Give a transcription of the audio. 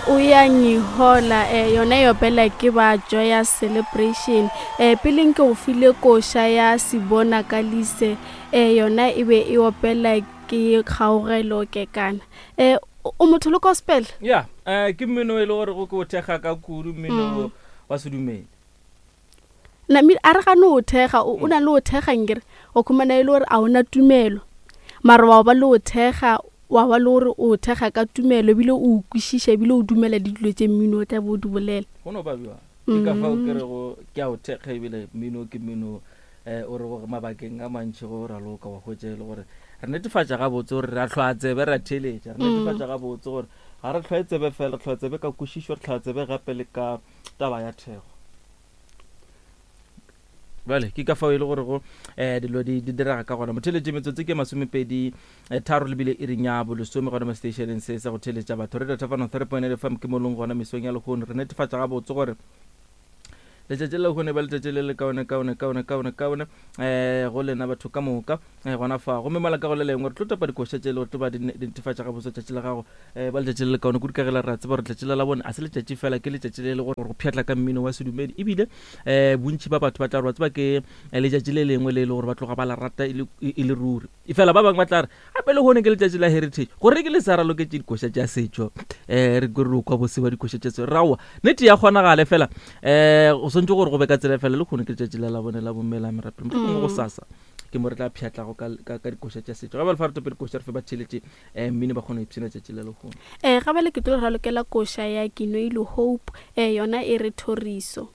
O ya ngihola eh, yona e opela ke ba Joyous Celebration. Eh, peleng ke go file koša ya Sibona Kalise eh, yona e be e opela ke Kgaogelo Kekana. Eh, o motho le gospel? Ya, eh, ke mmino e le gore go ke o thekga ka kudu mmino wa sedumedi. Nami a re gane o thekga o na le o thekga nkere o khumana e le gore a ona tumelo mara wa ba le o thekga wa ba le gore o thekga ka tumelo ebile o kwešiša ebile o dumela le dilo tše mmino o tla bo o di bolela. Go no ba bjalo. Ke ka fao ke rego ke a o thekga ebile mmino ke mmino um o re gore mabakeng a mantši go raloka wa hwetša e le gore re netefatša gabotse gore re a hlwa tsebe ra theeletša, re netefatša gabotse gore ga re hlwae tsebe fela, re hlwa tsebe ka kwešišo, re hlwa tsebe gape le ka taba ya thekgo. Bjale ke ka fao e le gore go um dilo di di direga ka gona. Motheeletši metsotso ke masomepedi eh, tharo lebile iring ya bolesome gona mo stationeng se sa go theeletša batho. Radio Thafano 3.8 FM ke molong gona mesong ya lehono. Re netefatša gabotse gore letšatši la lehono e ba letšatši le le kaone kaone kaone kaone kaone um go lena batho ka moka um gona fa. Gomme mola ka go le lengwe re tlo tapa dikoša tše le gore tlo ba di netefatša gabotse tšatši la gago um ba letšatši le le kaone kudu ka ge la re a tseba gore letšatši la labone a se letšatši fela, ke letšatši le le gore go pšhatla ka mmino wa sedumedi ebile um bontši ba batho ba tla re wa tseba ke letšatši le lengwe le e le gore ba tloga ba la rata e le e le ruri. Efela ba bangwe ba tla re gape lehono ke letšatši la heritage, gore ke le sa raloketše dikoša tša setšo um re kwe re kwa bose ba dikoša tša setšo. Raowa nnete ya kgonagale fela um go swantše gore go be ka tsela fela lehono ke letšatši la labone la bomme la merapelo, mohlomongwe go sasa ke mo re tla pšhatlago ka, ka, ka dikoša tša setšo. Ga ba le fa re tope dikoša re fe ba theeletše um mmino ba kgone go ipshina tšatši la lehono. Eh, ga bjale ke tlo ralokela koša ya Kinoilo Hope, eh, yona e re Thoriso.